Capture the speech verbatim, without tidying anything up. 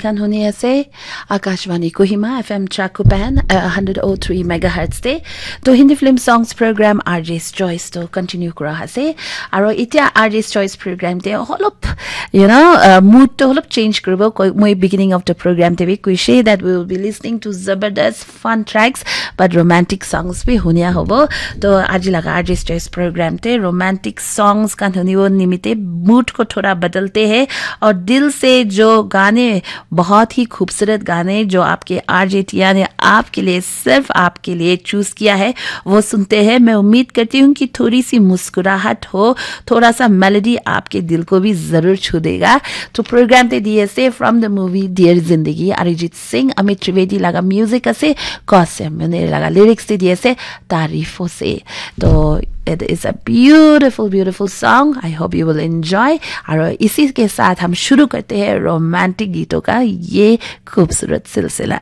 Khan huni ase Akashvani Kohima F M Chakupan, uh, hundred oh three megahertz te. To Hindi film songs program R J's Choice to continue kura ase. Aro itia R J's Choice program te holop, you know, uh, mood to holop change kuribo. Koi- Moi beginning of the program te bi kuishe that we will be listening to zabardast fun tracks, but romantic songs bi hunia hobo. To aji laga R J's Choice program te romantic songs kan hunibo nimite mood ko thoda badalte hai. Aur dil se jo gaane बहुत ही खूबसूरत गाने जो आपके आरजे टिया ने आपके लिए, सिर्फ आपके लिए चूज किया है, वो सुनते हैं। मैं उम्मीद करती हूँ कि थोड़ी सी मुस्कुराहट हो, थोड़ा सा मेलोडी आपके दिल को भी जरूर छू देगा। तो प्रोग्राम ते दिए से फ्रॉम द मूवी डियर जिंदगी, अरिजीत सिंह, अमित त्रिवेदी लगा म्यूजिक असे, कौशल मुनेर लगा लिरिक्स ते दिए से तारीफों से। तो it is a beautiful beautiful song, I hope you will enjoy। और इसी के साथ हम शुरू करते हैं रोमांटिक गीतों का ये खूबसूरत सिलसिला।